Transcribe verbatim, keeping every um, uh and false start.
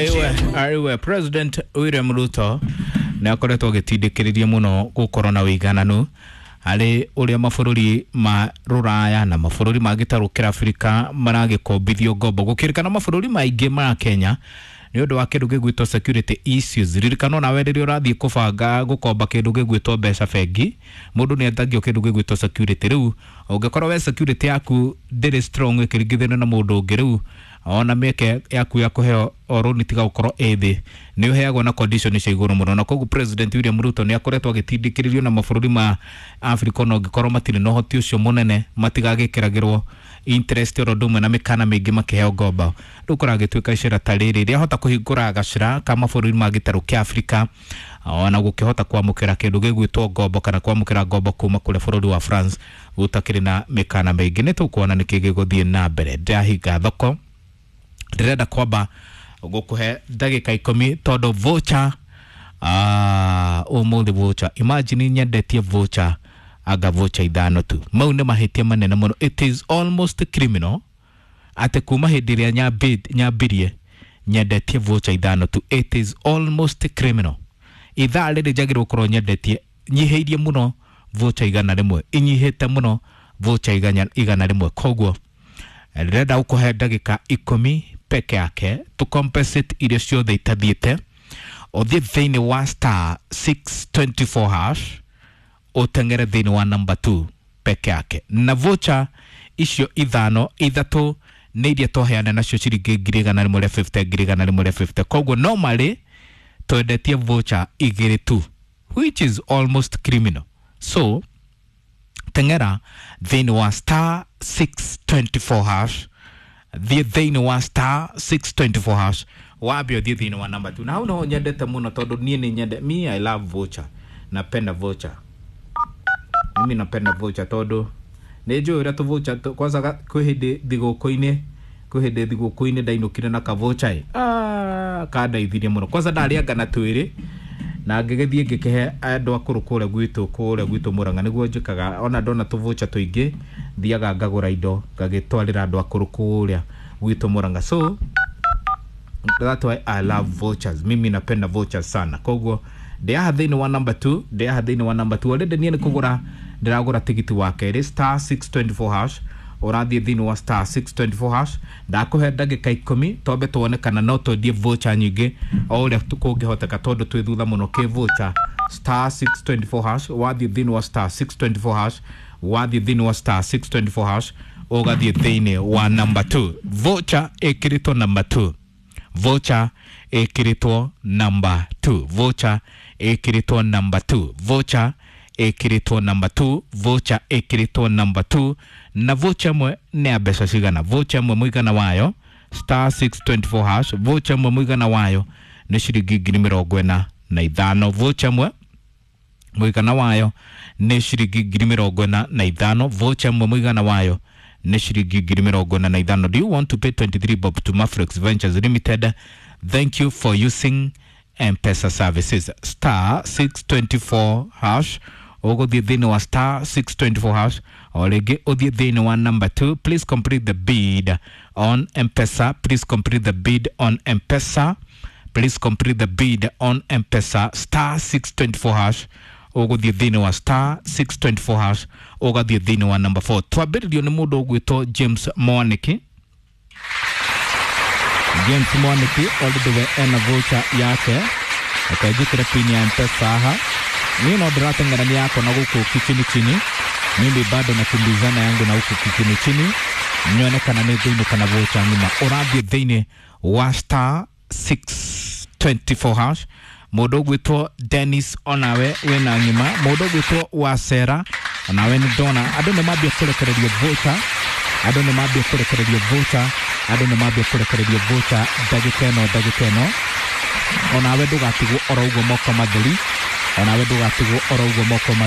Aiwe, aiwe President William Ruto nĩ akoretwo agĩtindĩkĩrĩria mũno gũkorwo na ũigananu harĩ ũrĩa mabũrũri ma rũraya na mabũrũri ma gĩtarũ kĩa Afrika maragĩkombithio ngombo. Gũkĩrĩkana mabũrũri maingĩ ma Kenya nĩ ũndũ wa kĩndũ gĩgwĩtwo security issues. Ririkana onawe rĩrĩa ũrathiĩ kũbanga gũkomba kĩndũ gĩgwĩtwo mbeca bengi, mũndũ nĩ etagio kĩndũ gĩgwĩtwo security. Rĩu ũngĩkorwo we security yaku ndĩrĩ strong ĩkĩringithanio na mũndũ ũngĩ, rĩu ona mĩeke yaku ya kũheo rũni tiga gũkorwo ĩ thĩ, nĩ ũheagwo na condition cia igũrũ mũno. Na koguo President William Ruto nĩ akoretwo agĩtindĩkĩrĩrio na mabũrũri ma Afrika ona ũngĩkorwo matirĩ na ũhoti ũcio mũnene, matigagĩkĩragĩrwo interest oro ũndũ ũmwe na mĩkana mĩingĩ makĩheo ngombo. Rĩu kũragĩtuĩka icera ta rĩrĩ rĩahota kũhingũra gacĩra ka mabũrũri ma gĩtarũ kĩa Afrika ona gũkĩhota kwamũkĩra kĩndũ gĩgwĩtwo ngombo kana kwamũkĩra ngombo kuma kũrĩ bũrũri wa France gũtakĩrĩ na mĩkana mĩingĩ. Nĩ tũkuona nĩkĩ gĩgũthiĩ na mbere. Ndĩrahinga thoko, ndĩrenda kwamba gũkũhe ndagĩka ikũmi tondũ voucher, ah, ũmũthĩ voucher, imagine nyendetie voucher anga voucher ithano tu. Mau nĩ mahĩtia manene mũno, it is almost criminal atĩ kuma hĩndĩ ĩrĩa nyambi- nyambirie nyendetie voucher ithano tu. It is almost criminal. Ithaa rĩrĩ njagĩrĩirwo gũkorwo nyendetie nyihĩirie mũno voucher igana rĩmwe, inyihĩte mũno voucher igana, igana rĩmwe. Koguo ndĩrenda gũkũhe ndagĩka ikũmi peke yake to compensate irio ciothe itathiĩte. Ũthiĩ thĩinĩ wa star six twenty four hash, ũteng'ere thĩinĩ wa number two peke yake, na voucher icio ithano, ithatũ nĩ iria twaheana nacio ciringi ngiri igana rĩmwe rĩa fifty, ngiri igana rĩmwe rĩa fifty. Koguo normally twendetie voucher igĩrĩ tu, which is almost criminal. So teng'era thĩinĩ wa star six twenty four hash, thiĩ thĩinĩ wa star six twenty four hash, wambe ũthiĩ thĩinĩ wa number two. Na hau noho nyendete mũno tondũ niĩ nĩ nyende, me I love voucher, napenda voucher, mimi napenda voucher tondũ nĩ njũĩ ũrĩa tũ voucher kwanza ga- kwĩ hĩndĩ thigũkũ-inĩ kwĩ hĩndĩ thigũkũ-inĩ ndainũkire na ka voucher ĩ, ah, kandeithirie mũno. Kwanza ndarĩanga na twĩrĩ na ngĩgĩthiĩ ngĩkĩhe andũ akũrũ kũrĩa gwitũ kũrĩa gwitũ Mũrang'a. Nĩguo njĩkaga, ona ndona tũ voucher tũingĩ thiaga ngagũra indo ngagĩtwarĩra andũ akũrũ kũrĩa gwitũ Mũrang'a. So that's why I love vouchers, mimi napenda vouchers sana. Koguo ndĩaha thĩinĩ wa number two, ndĩaha thĩinĩ wa number two. Already niĩ nĩ kũgũra ndĩragũra tigiti wa kerĩ. Star six twenty four hash, ũrathiĩ thĩinĩ wa star six twenty four hash. Ndakũhe ndagĩka ikũmi twambe tuone kana no twendie voucher nyingĩ o ũrĩa kũngĩhoteka tondũ twĩ thutha mũno kĩ voucher. Star six twenty four hash, wathiĩ thĩinĩ wa star six twenty four hash, wathiĩ thĩinĩ wa star six twenty four hash, ũgathiĩ thĩinĩ wa number two. Voucher ĩkĩrĩtwo number two, voucher ĩkĩrĩtwo number two, voucher ĩkĩrĩtwo number two, voucher ĩkĩrĩtwo number two, voucher ĩkĩrĩtwo number two. Na voucher ĩmwe nĩ ya mbeca cigana? Voucher ĩmwe mũigana wayo, star six twenty four hash, voucher ĩmwe mũigana wayo nĩ ciringi ngiri mĩrongo ĩna na ithano. Voucher ĩmwe mũigana wayo nĩ ciringi ngiri mĩrongo ĩna na ithano. Voucher ĩmwe mũigana wayo nĩ ciringi ngiri mĩrongo ĩna na ithano. Do you want to pay twenty-three bob to Mafrex Ventures Limited? Thank you for using M-Pesa services. Star six twenty four hash, ũgũthiĩ thĩinĩ wa star six twenty four hash, o rĩngĩ ũthiĩ thĩinĩ wa number two. Please complete the bid on M-Pesa, please complete the bid on M-Pesa, please complete the bid on M-Pesa. Star six twenty four hash, ũgũthiĩ thĩinĩ wa star six twenty four hash, ũgathiĩ thĩinĩ wa number four. Twambĩrĩrio nĩ mũndũ ũgwĩtwo James Mwaniki. James Mwaniki already we ena voucher yake. Reke njĩkĩre pin ya M-Pesa haha. Niĩ no ndĩrateng'erania yakwa na gũkũ kichini chini, mimi bado nakimbizana yangu na huku kichini chini nyone kana nĩ ngũinũka na voucher ng'ima. Ũrathiĩ thĩinĩ wa star six twenty four hash. Mũndũ ũgwĩtwo Dennis, onawe wĩna ng'ima. Mũndũ ũgwĩtwo Wacera, onawe nĩ ndona andũ nĩ mambia kũrekererio voucher, andũ nĩ mambia kũrekererio voucher, andũ nĩ mambia kũrekererio voucher ndagĩka ĩno, ndagĩka ĩno. Onawe ndũgatigwo oro ũguo moko matheri, onawe ndũgatigwo oro ũguo moko matheri.